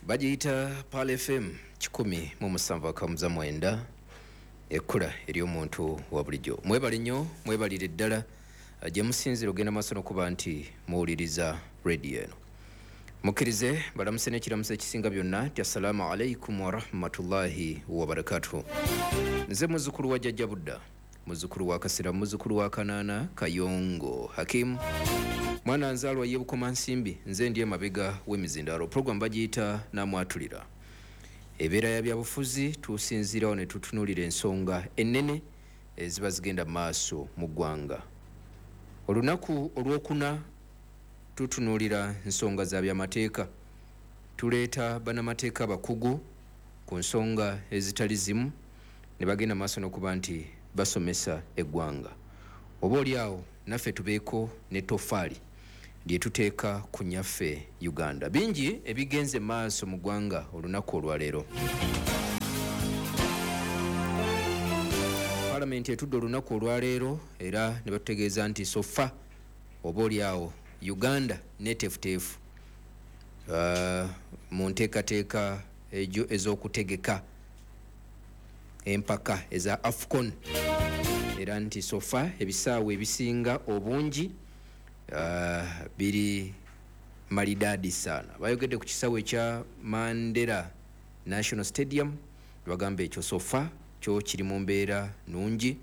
Bagiyita Pearl FM 107.9, ekkula ery'omuntu wa bulijjo. Mwebale nnyo, mwebalire ddala gye musinzira ogenda maaso n'okuba nti muwuliriza rediyo eno. Mukkirize balamuse n'ekiramuso ekisinga byonna nti assalaamu alaikum warahmatullahi wabarakatuhu. Nze muzzukulu wa Jjajja Budda, muzzukulu wa Kasira, muzzukulu wa Kanaana Kayongo Hakimu, mwana nzaalwa ye Bukomansimbi. Nze ndi emabega w'emizindaalo. Program bagiyita Namwatulira, ebeera ya byabufuzi. Tusinziirawo ne tutunuulira ensonga ennene eziba zigenda mu maaso mu ggwanga. Olunaku olwokuna tutunuulira nsonga za byamateeka, tuleeta bannamateeka abakugu ku nsonga ezitali zimu ne bagenda maaso n'okuba nti basomesa eggwanga, oba oli awo naffe tubeeko ne tofaali lye tuteeka ku nyaffe Uganda. Bingi ebigenze maaso mu ggwanga olunaku olwaleero. Palamenti etudde olunaku olwaleero era ne batutegeeza nti so far oba oli awo Uganda neteefuteefu mu nteekateeka ejo ez'okutegeka empaka eza AFCON, era nti so far ebisaawe ebisinga obungi biri malidaadi sana. Bayogedde ku kisaawe ekya Mandela National Stadium, bagamba ekyo so far kyo kiri mu mbeera nungi.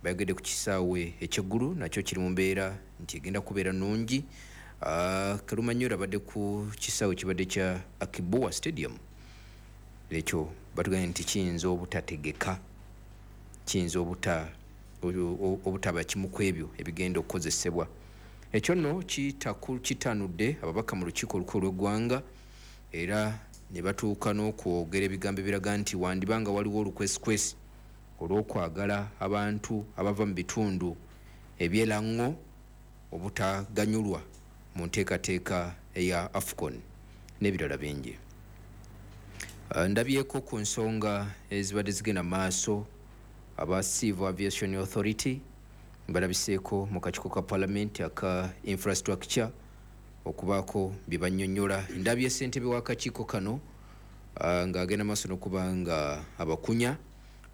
Bayogedde ku kisaawe ekyeggulu, nakyo kiri mu mbeera nti egenda kubeera nungi. Kalumanyoro abadde ku kisaawe kibadde kya Akii Bua Stadium, ekyo batugambye nti kiyinza obutategeka, kiyinza obutaba kimu ku ebyo ebigenda okukozesebwa. Ekyo nno kitanudde ababaka mu lukiiko olukulu lw'eggwanga, era ne batuuka n'okwogera ebigambo ebiraga nti wandiba nga waliwo olukwesikwesi olw'okwagala abantu abava mu bitundu ebyeraŋŋo obutaganyulwa mu nteekateeka eya AFCON n'ebirala bingi. Ndabyeko ku nsonga ezibadde zigenda maaso, aba Civil Aviation Authority balabiseeko mu kakiiko ka Parliament aka infrastructure okubaako bye bannyonnyola. Ndabye ssentebe w'akakiiko kano ng'agenda maaso n'okuba nga abakunya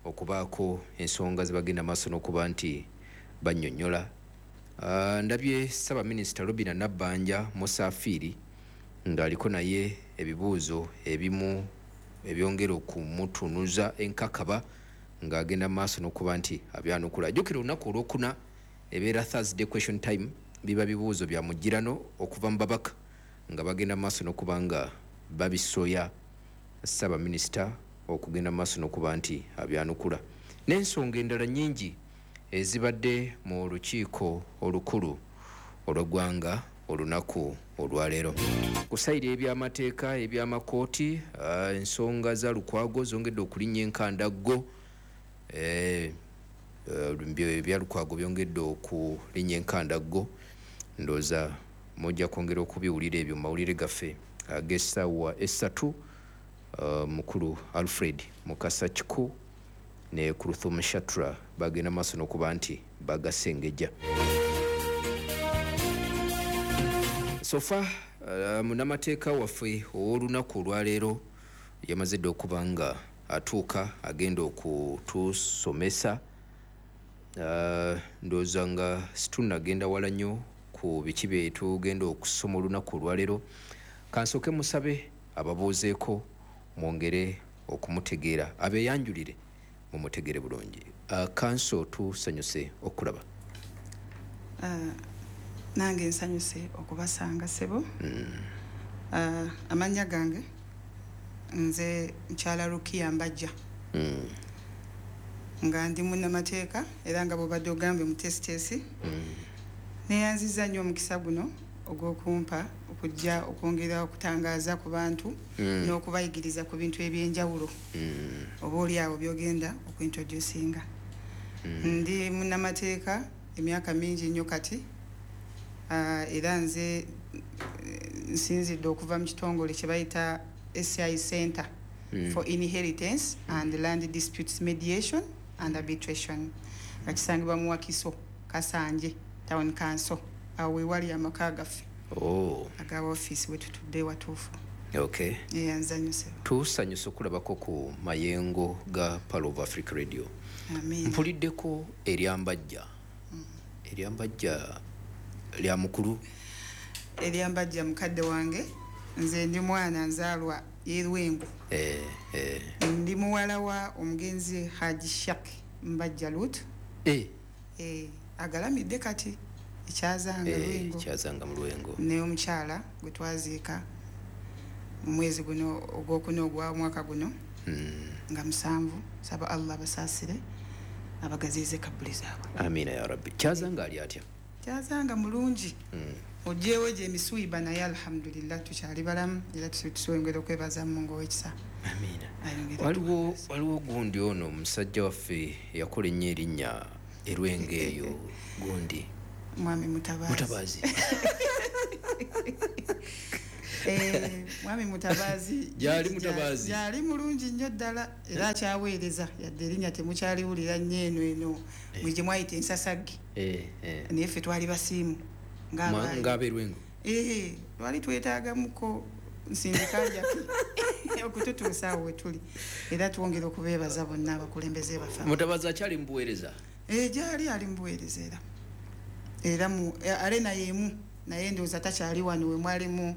okubaako ensonga ze bagenda maaso n'okuba nti bannyonnyola. Ndabye Ssaabaminisita Robina Nabbanja Musafiiri ng'aliko naye ebibuuzo ebimu ebyongera okumutunuza enkakaba ng'agenda maaso n'okuba nti abyanukula. Jjukira olunaku olwokuna ebeera Thursday question time, biba bibuuzo bya mugirano okuva mu babaka nga bagenda maaso n'okuba nga babisoya Ssaabaminisita okugenda maaso n'okuba nti abyanukula, n'ensonga endala nnyingi ezibadde mu lukiiko olukulu olw'eggwanga olunaku olwaleero. Ku side ebyamateeka, ebyamakooti, ensonga za Lukwago zongedde okulinnya enkandaggo. Ebya Lukwago byongedde okulinnya enkandaggo. Ndowooza mujja kwongera okubiwulira ebyo mu mawulire gaffe ag'essaawa 3. Mukulu Alfred Mukasa Kiku ne Kuruthum Shatra bagenda maaso n'okuba nti bagasengejja. So far munnamateeka waffe ow'olunaku olwaleero yamaze dde okuba nga atuuka, agenda okutusomesa. Ndowooza nga situnagenda wala nnyo ku biki bye tugenda okusoma olunaku olwaleero, kansooke musabe ababuuzeeko mwongere okumutegeera, abeeyanjulire mumutegeere bulungi. Counsel, tusanyuse okulaba. Nange nsanyuse okubasanga, ssebo. Amannya gange nze mukyala Rukiya Mbajja, nga ndi munnamateeka era nga bwobadde ogambye muteesiteesi. Neyanziza nnyo omukisa guno ogw'okumpa okujja okwongera okutangaaza ku bantu n'okubayigiriza ku bintu ebyenjawulo oba oli awo byogenda okuintroducinga. Ndi munnamateeka emyaka mingi nnyo kati, era nze nsinzidde okuva mu kitongole kye bayita SCI Center for Inheritance and Land Disputes Mediation and Arbitration, nga kisangibwa mu Wakiso, Kasanje Town Council. Awo wewali amaka gaffe aga ofiisi wetutudde watuufu. Okay. Neyanza nnyo ssebo. Tusanyusa okulabako ku mayengo ga Pearl of Africa Radio. Amiina. Mpuliddeko eryambajja. Eryambajja lya mukulu? Eryambajja mukadde wange. Nze ndi mwana nzaalwa y'e Lwengo. Ndi muwala wa omugenzi Haji Shak Mbajja Lut. Agalamidde kati ekyazanga Lwengo. Kyazanga mu Lwengo. Ne omukyala gwe twaziika mu mwezi guno ogwokuna ogwa mwaka guno. Nga 7. Saba Allah abasaasire, abagaziize kabbuli zaabwe. Amiina ya Rabbi. Kyazanga ali atya? Kyazanga mulungi. Oggyewo gye emisuiba, naye alhamdulillah tukyali balamu era tusongera okwebaza Mungu ow'ekisa. Amiina. Ayongere atuwangaze. Waliwo gundi ono omusajja waffe yakola ennyo erinnya erwengo eyo gundi. Mwami Mutabaazi. Mutabaazi. Mwami Mutabaazi. Gyali Mutabaazi. Gyali mulungi nnyo ddala era akyaweereza, yadde erinnya temukyaliwulira nnyo eno eno. Mwe gye mwayita ensasagge. Naye ffe twali basiimu. Ng'abeerwengo. Twali twetaagamuko nsindika njaki okututuusa awo we tuli. Era twongera okubeebaza bonna abakulembeze baffe. Mutabaazi akyali mu buweereza? Gyali ali mu buweereza era. Era mu arena y'emu, naye ndowooza takyali wano we mwalimu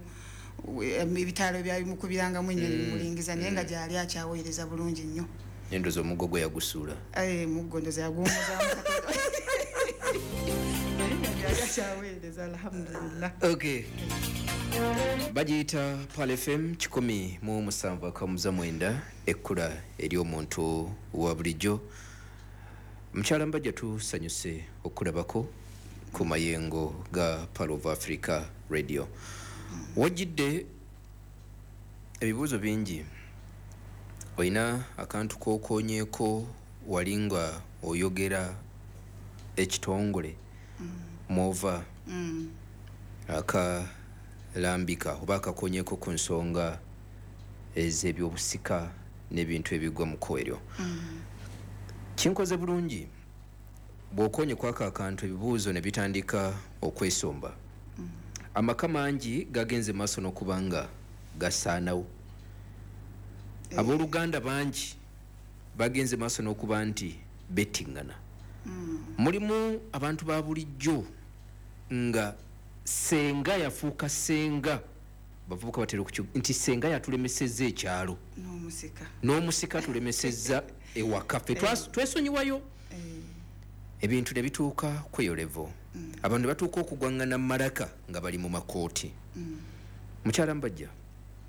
ebitaalo byabimukubirangamu ennyo ne bimulingiza, naye nga gyali akyaweereza bulungi nnyo. Ndowooza omuggo gwe yagusuula. Muggo ndowooza yaguwummuzaamu katono. Naye nga gyali akyaweereza, alhamdulillah. Okay. Bagiyita Pearl FM 107.9, ekkula ery'omuntu wa bulijjo. Mukyala Mbajja, tusanyuse okulabako ku mayengo ga Pearl of Africa Radio. Wajjidde ebibuuzo bingi. Olina akantu k'okoonyeeko wali nga oyogera ekitongole mw'ova akalambika oba akakoonyeeko ku nsonga ez'ebyobusika n'ebintu ebigwa mu kko eryo. Kinkoze bulungi bw'okoonye kwako akantu ebibuuzo ne bitandika okwesomba. Amaka mangi gagenze maaso n'okuba nga gasaanawo. Abooluganda bangi bagenze maaso n'okuba nti bettingana. Mulimu abantu ba bulijjo nga ssenga yafuuka ssenga, bavubuka batera nti ssenga yatulemesezza ekyalo. N'omusika. N'omusika atulemesezza ewaka. Ffe twesonyiwayo. Ebintu ne bituuka ku eyo level. Abantu ne batuuka okugwaŋŋana mu malaka nga bali mu makooti. Mukyala Mbajja,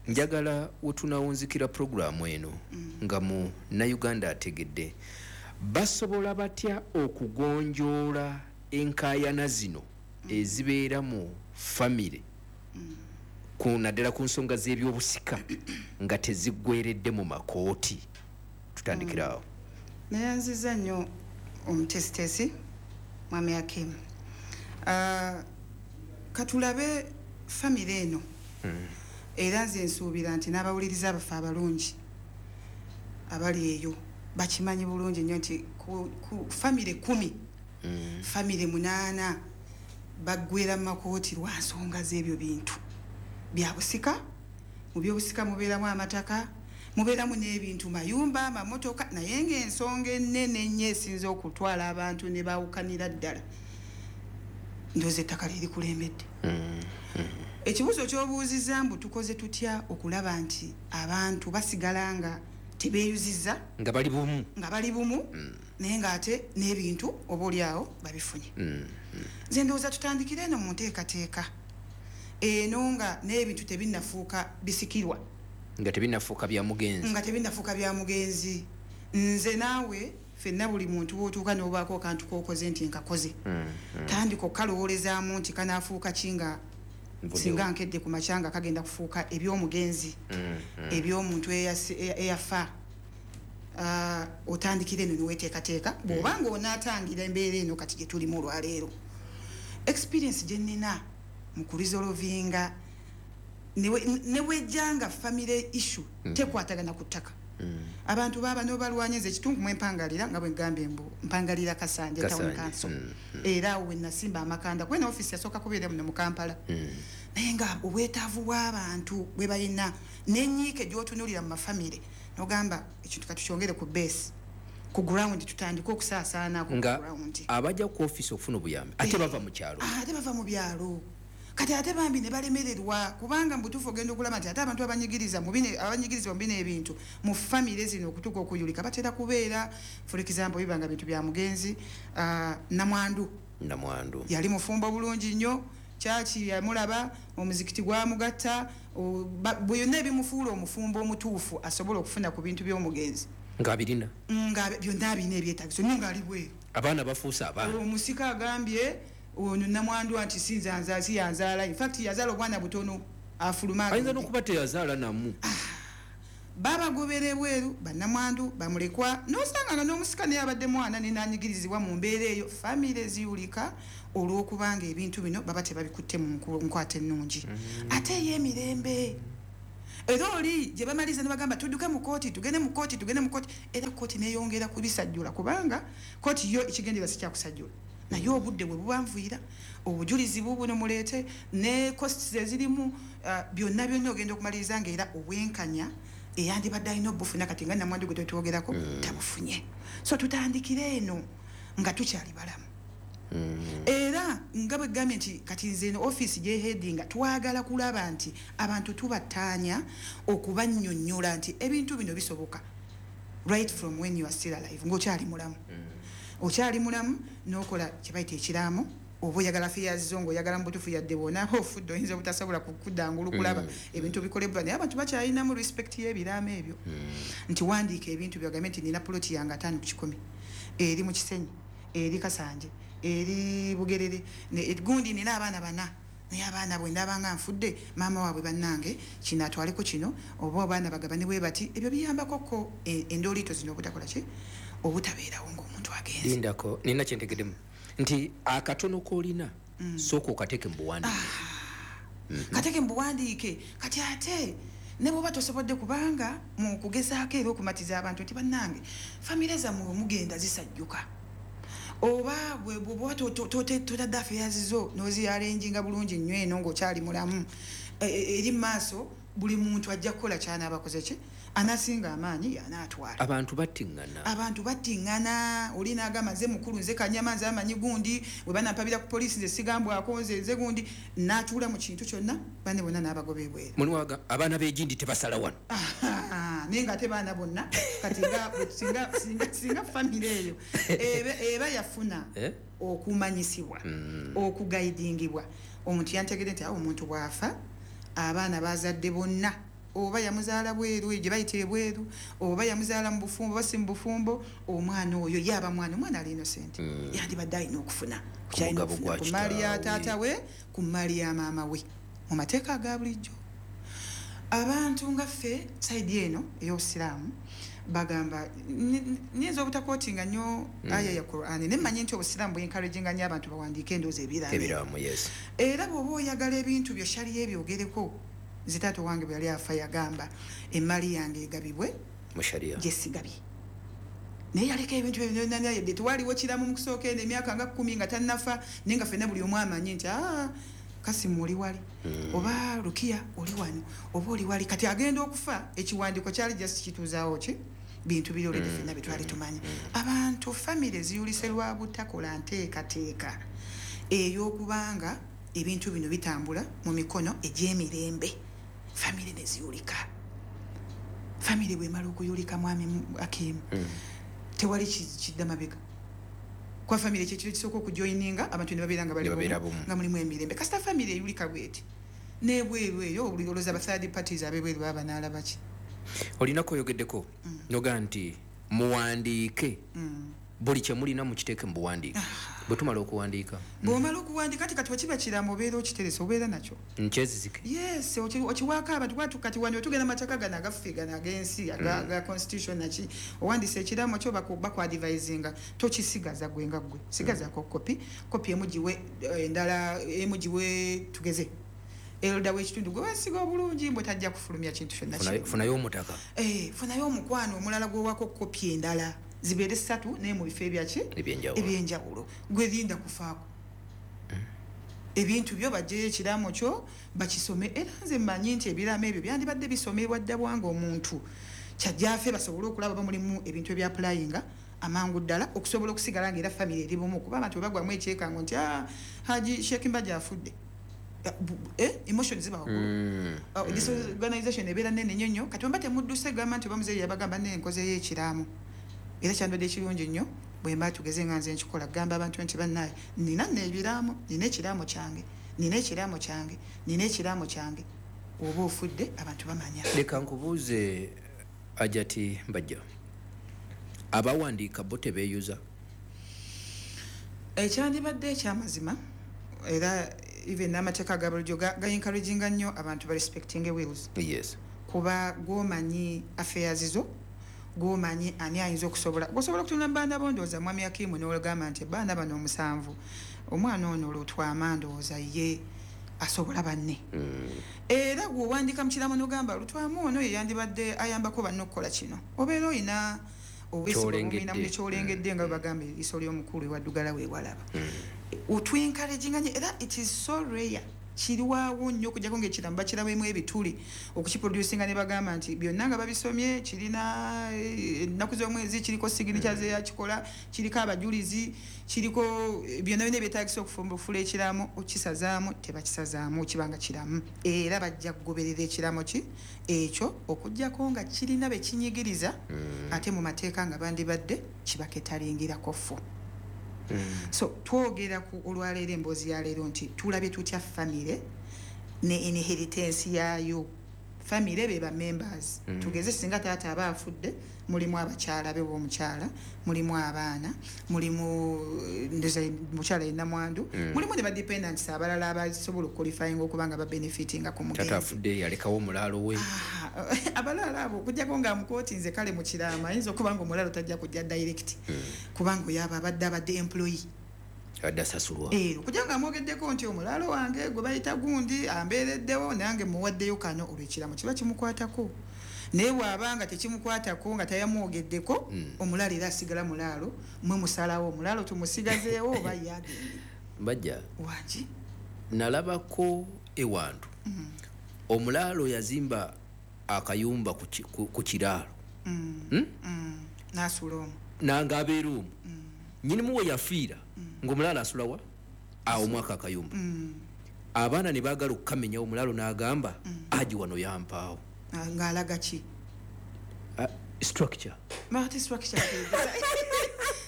njagala we tunaawunzikira pulogulaamu eno nga munnayuganda ategedde basobola batya okugonjoola enkaayana zino ezibeera mu famire, naddala ku nsonga z'ebyobusika nga teziggweredde mu makooti. Tutandikira awo. Neyanziza nnyo omutesitesi Mwami Hakim. Katulabe famire eno. Era nze nsuubira nti n'abawuliriza baffe abalungi abali eyo bakimanyi bulungi nnyo nti ku famire 10, famire 8 baggwera mu makooti lwa nsonga z'ebyo bintu bya busika. Mu byobusika mubeeramu amataka, mubeeramu n'ebintu, mayumba, amamotoka, naye ng'ensonga ennene ennyo esinze okutwala abantu ne baawukanira ddala ndowooza ettaka lirikulembedde. Ekibuuzo ky'obuuzizza mbu tukoze tutya okulaba nti abantu basigala nga tebeeyuzizza, nga bali bumu, nga bali bumu, naye ng'ate n'ebintu oba oli awo babifunye. Nze ndowooza tutandikire eno mu nteekateeka eno nga n'ebintu tebinnafuuka bisikirwa, nga tebinnafuuka bya mugenzi, nga tebinnafuuka bya mugenzi. Nze naawe ffenna buli muntu w'otuuka n'obaako akantu k'okoze nti nkakoze, tandika okukalowoolezaamu nti kanaafuuka ki nga singa nkedde ku makya nga kagenda kufuuka eby'omugenzi, eby'omuntu eyafa. Otandikire eno neweteekateeka bw'oba ng'onaatangira embeera eno kati gye tulimu olwaleero. Experience gye nnina mu kuresolvinga ne wejjanga family issue tekwatagana ku ttaka. Abantu baba n'obalwanya, nze ekitundu mwe mpangalira nga bwe ngambye mbu mpangalira Kasanje Town Council. Era awo we nasimba amakanda, kuba eno ofiisi yasooka kubeera muno mu Kampala. Naye nga obwetaavu bw'abantu bwe balina n'ennyiike gy'otunuulira mu mafamire n'ogamba ekintu katukyongere ku base, ku ground, tutandike okusaasaana ku ground. Abajja ku office okufuna obuyambi ate bava mu kyalo, ate bava mu byalo, kati ate bambi ne balemererwa, kubanga mu butuufu ogenda okulaba nti ate abantu abanyigiriza mu bino, abanyigirizibwa mu bino ebintu mu famire zino okutuuka okuyulika batera kubeera, for example, bibanga bintu bya mugenzi namwandu. Namwandu yali mufumbo bulungi nnyo, kyaki yamulaba, omuzikiti gwamugatta, byonna ebimufuula omufumbo omutuufu asobola okufuna ku bintu by'omugenzi nga birina, nga byonna birina ebyetaagiso, naye ng'ali bweru. Abaana bafuuse abaana. Omusika agambye ono namwandu nti sinza si yanzaala, in fact yazaala obwana butono, afuluma. Ayinza n'okuba teyazaala namu. Babagobera ebweru, bannamwandu bamulekwa, n'osanga nga n'omusika naye abadde mwana nenanyigirizibwa mu mbeera eyo. Famire ziyulika olw'okubanga ebintu bino baba tebabikutte mu nkwata ennungi ate ey'emirembe. Era oli gye bamaliza ne bagamba tudduke mu kooti, tugende mu kooti, tugende mu kooti, era kooti neyongera kubisajjula, kubanga kooti yo ekigendererwa si kyakusajjula, naye obudde bwe bubanvuyira, obujulizi bubuno muleete ne costs ezirimu, byonna byonna ogenda okumaliriza nga era obwenkanya eyandibadde alina obufuna kati nga namwandu gwe tetwogerako tabufunye. So tutandikire eno nga tukyali balamu. Era nga bwe gambye nti kati nze eno office gye headinga twagala kulaba nti abantu tubattaanya okubannyonnyola nti ebintu bino bisoboka right from when you are still alive, ng'okyali mulamu. Okyali mulamu n'okola kye bayita ekiraamo, oba oyagala fears zo ng'oyagala mu butuufu yadde bw'onaaba ofudde oyinza obutasobola kuddangula okulaba ebintu bikolebwa, naye abantu bakyalinamu respect y'ebiraamo ebyo. Nti wandiika ebintu byogambe nti nina poloti yange 150 eri mu Kisenyi, eri Kasanje, eri Bugerere, gundi nina abaana bana, naye abaana bwe ndaba nga nfudde maama waabwe bannange kino atwaleko kino, oba abaana bagabane bwe bati. Ebyo biyambako ko endooliito zino obutakola ki, obutabeerawo ng'omuntu agenze. Lindako, nina kyentegeddemu nti akatono k'olina sooka okateeke mu buwandiike. Kateeke mu buwandiike. Kati ate ne bw'oba tosobodde, kubanga mu kugezaako era okumatiza abantu nti bannange famire zammwe mugenda zisajjuka, oba bw'oba totadde affairs zo n'oziarranginga bulungi nnyo eno ng'okyali mulamu, eri mu maaso buli muntu ajja kukola ky'anaaba akoze ki, anasinga amaanyi yanaatwala. Abantu battiŋŋana. Abantu battiŋŋana. Oli n'agamba nze mukulu, nze kanyama, nze amanyi gundi, bwe banampabira ku poliisi nze sigambwako, nze gundi, n'atuula mu kintu kyonna, banne bonna n'abagoba ebweru. Mulimu abaana b'egindi tebasala wano. Naye ng'ate baana bonna kati singa famire eyo eba yafuna okumanyisibwa, okugaidingibwa, omuntu yantegedde nti awo omuntu bw'afa abaana bazadde bonna, oba yamuzaala bweru gye bayita ebweru, oba yamuzaala mu bufumbo oba si mu bufumbo, omwana oyo yaba mwana, omwana ali innocent, yandibadde alina okufuna ku mmaali ya taata we, ku mmaali ya maama we mu mateeka aga bulijjo. Abantu nga ffe side eno ey'obusiraamu bagamba, nyinza obutakootinga nnyo aya ya Qur'an, naye mmanyi nti obusiraamu bwe-encouraginga nnyo abantu bawandiike endowooza ebiraamo. Yes. Era bw'oba oyagala ebintu byo shariya ebyogereko, nze taata wange bwe yali afa yagamba emmali yange egabibwe mu shariya gye sigabye, naye yaleka ebintu ebyo byonna, yadde tewaliwo kiramu mu kusooka eno emyaka nga 10 nga tannafa, naye nga ffenna buli omu amanyi nti Kasimu oli wali, oba Rukiya oli wano, oba oli wali. Kati agenda okufa ekiwandiiko kyali just kituuzaawo ki bintu biri olwedde ffenna bye twali tumanyi. Abantu famire ziyulise lwa butakola nteekateeka ey'okubanga ebintu bino bitambula mu mikono egy'emirembe, famire ne ziyulika. Famire bw'emala okuyulika mwami Akim, tewali kidda mabega. Kwa famire kyekiro kisooka okujoininga abantu ne babeera nga bali bumu, nga mulimu emirembe. Kasita famire eyulika bw'eti n'ebweru eyo olowooza ba third parties ab'ebweru baba banaalaba ki? Olinako oyogeddeko noga nti muwandiike buli kye mulina mukiteeke mu buwandiike. Bwe tumala okuwandiika, bw'omala okuwandiika kati wekiba kiraamo obeera okiterese, obeera nakyo nkyezizike. Yes, okiwaako abantu. Kati wano tugenda mateeka gano agaffe gano ag'ensi aga constitution naki, owandiisa ekiraamo kyo bakuadvisinga tokisigaza gwe nga ggwe, sigazaako kopi, kopi emu giwe endala, emu giwe tugeze elda w'ekitundu gwe wesiga obulungi mbwe tajja kufulumya kintu kyonna. Funayo omutaka, funayo omukwano omulala gw'owaako kopi endala zibeere 3 naye mu bifo ebyaki ebyenjawulo, gwe linda kufaako. Ebintu byo bajjeyo ekiraamo kyo bakisome. Era nze mmanyi nti ebiraamo ebyo byandibadde bisomebwa dda bwanga omuntu kyajjaafe, basobole okulaba bamulimu ebintu ebyapulayinga amangu ddala okusobola okusigala nga era famire eri bumu. Kuba abantu bwe bagwamu ekyekango nti, "Ah, Haji Sheikh Mbajja afudde," emotions ziba waggulu. Disorganization ebeera nene nnyo nnyo. Kati bwemba temudduse, gamba nti oba muzeeyi yabagamba nne nkozeyo ekiraamo, era kyandibadde ekirungi nnyo bwemba tugeze nga nze nkikola, gamba abantu nti bannaye, nina nno ebiraamo, nina ekiraamo kyange, nina ekiraamo kyange, nina ekiraamo kyange. Oba ofudde, abantu bamanya. Leka nkubuuze, Hajati Mbajja, abawandiika bo tebeeyuza? Ekyandibadde ekyamazima, era even n'amateeka aga bulijjo ga encouraginga nnyo abantu ba respecting wills, kuba gwomanyi affairs zo, gwomanyi ani ayinza okusobola, gosobola okutunula mu baana bo. Ndowooza mwami Akimu n'olugamba nti baana bano omusanvu, omwana ono Lutwama ndowooza ye asobola banne. Era gweowandiika mu kiraamo n'ogamba Lutwama ono ye yandibadde ayambako banne okukola kino, obeera oyina Ky'olengedde. Kyolengedde, nga bwe bagamba eriiso ly'omukulu ewaddugala weewalaba. Otwencouraginga nnyo, era it is so rare, kirwawo nnyo okujjako ngaekiramu bakirabemu ebituli okukiproducinga ne bagamba nti byonna nga babisomye, kirina ennaku z'omwezi, kiriko signature zeyakikola, kiriko abajulizi, kiriko byonna byonna ebyetagisa okufula ekiraamo. Okisazaamu tebakisazaamu, kibanga kiramu, era bajja kugoberera ekiraamo ki ekyo okujjako nga kirina bekinyigiriza. Ate mu mateeka nga bandibadde kibaketalingirako ffu. So twogera ku olwaleero, emboozi ya leero nti tulabye tutya famire ne inheritance yaayo. Famire be ba members. Tugeze singa taata aba afudde, mulimu abakyala be b'omukyala, mulimu abaana, mulimu ndoza mukyala yenna mwandu, mulimu ne badependants abalala abasobola okuqualifyinga okuba nga babenefitinga ku Tata mugenzi. afudde, yalekawo omulaalo we. Ah, abalala abo okujjako nga mukooti, nze kale mu kiraamo ayinza okuba nga omulalo tajja kujja direct, kubanga oyo aba abadde employee. Adde asasulwa. Okujja nga amwogeddeko nti omulaalo wange gwe bayita gundi ambeereddewo, nange muwaddeyo kano, olwo ekiraamo kiba kimukwatako. Naye bw'aba nga tekimukwatako, nga tayamwogeddeko, omulaalo era asigala mulaalo. Mwe musalawo omulaalo tumusigazeewo oba ye agende. Mbajja. Wangi. Nalabako ewantu omulaalo yazimba akayumba ku kiraalo. N'asula omwo. Nanga abeera omwo. Nyinimu we yafiira ng'omulaalo asulawa awo mwaka akayumba. Abaana ne baagala okukamenya, omulaalo n'agamba aji wano yampaawo. Ah, ng'alaga ki? Ah, structure. Ate structure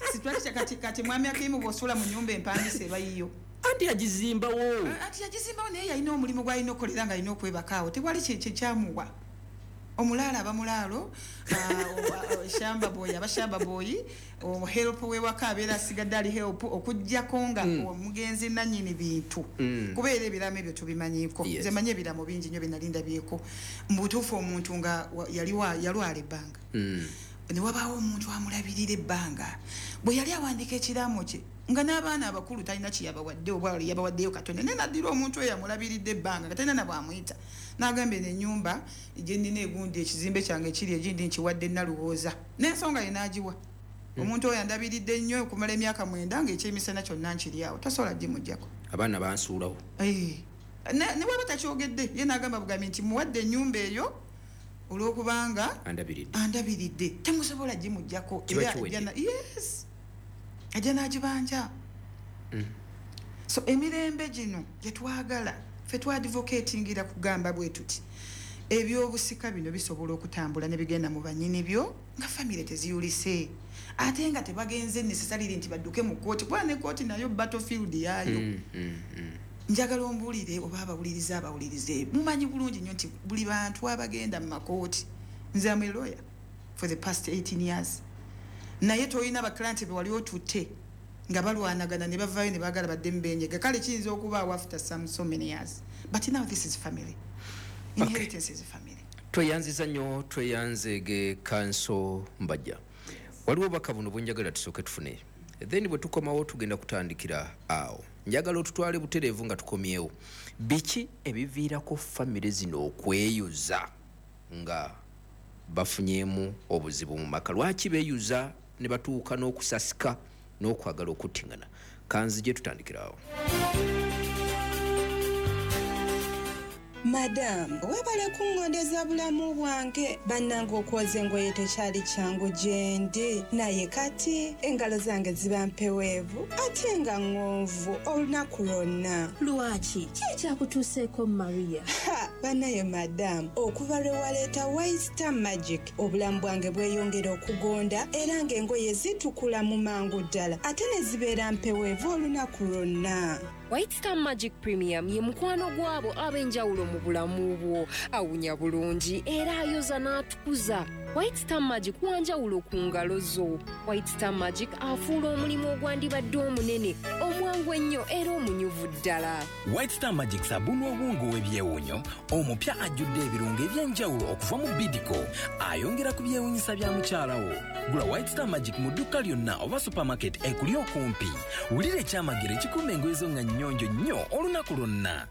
structure kati mwami Akimu, bw'osula mu nyumba empangisa eba yiyo. Anti agizimbawo. Ati yagizimbawo, naye yalina omulimu gwalina okukolera nga alina okwebakaawo. Tewali kyamuwa. Omulaalo aba mulaalo, shamba boy aba shamba boy, help wewaka abeera asigadde ali help, okugjako nga omugenzi nanyini bintu. Kubeera ebiraamo ebyo tubimanyiiko. Nze manyi ebiraamo bingi nnyo byenali ndabyeko mu butuufu, omuntu nga yalwala ebbanga, ne wabaawo omuntu amulabirira ebbanga. Bwe yali awandiika ekiraamo kye, nga n'abaana abakulu talina kyeyabawadde, oba yabawaddeyo katono, naye naddira omuntu oyo amulabiridde ebbanga nga talina nabwamuyita, n'agamba eno ennyumba gye nnina egundi, ekizimbe kyange kiri egindi, nkiwadde Nalowooza n'ensonga ye n'agiwa omuntu oyo andabiridde ennyo okumala emyaka 9, ng'ekyemisana kyonna nkiri awo, tosobola gimugjako. Abaana bansuulawo. Ne bwaba takyogedde, ye n'agamba bugambi nti muwadde ennyumba eyo olw'okubanga andabiridde. Andabiridde, temusobola gimugjako. Kiba Era kiwedde. Yes, ajja n'agibanja. So emirembe gino gyetwagala ffe twadvocatingira kugamba bwe tuti ebyobusika bino bisobola okutambula ne bigenda mu banyini byo nga famire teziyulise, ate nga tebagenze necessarily nti badduke mu kooti, kuba ne kooti nayo battlefield yaayo. Njagala ombuulire oba abawulirize, mumanyi bulungi nnyo nti buli bantu abagenda mu makooti, nze am a lawyer for the past 18 years, naye tolina baclient be wali otutte nga balwanagana ne bavaayo ne baagala badde mubenyega. Kale kiyinza okubaawo after some so many years, but now this is family inheritance, is family. Tweyanziza nnyo, tweyanzeege Counsel Mbajja. Waliwo obubaka buno bwenjagala tusooke tufune, then bwe tukomawo tugenda kutandikira awo. Njagala otutwale butereevu nga tukomyewo, biki ebiviirako famire zino okweyuza nga bafunyeemu obuzibu mu maka? Lwaki beeyuza ne batuuka n'okusasika n'okwagala okuttiŋŋana? Kanzije tutandikira awo. Madamu, webale kuŋŋondeza bulamu bwange. Bannange, okwoza engoye tekyali kyangu gye ndi, naye kati engalo zange ziba mpeweevu ate nga ŋŋonvu olunaku lwonna. Lwaki? Ki ekyakutuuseeko, Maria? Ha, bannaye madamu, okuva lwe waleeta White Star Magic, obulamu bwange bweyongera okugonda era ng'engoye zitukula mu mangu ddala ate ne zibeera mpeweevu olunaku lwonna. White Star Magic Premium ye mukwano gw'abo ab'enjawulo mu bulamu bwo. Awunya bulungi era ayoza n'atukuza. White Star Magic wanjawulo ku ngalo zo. White Star Magic afuula omulimu ogwandibadde omunene omwangu ennyo era omunyuvu ddala. White Star Magic sabbuuni ow'obuwunga ow'ebyewuunyo omupya ajjudde ebirungo eby'enjawulo okuva mu Bidco, ayongera ku byewuunyisa bya mukyala wo. Gula White Star Magic mu dduuka lyonna oba supermarket ekuli okumpi. Wulira ekyamagero ekikuuma engoye zo nga nnyonjo nnyo olunaku lwonna.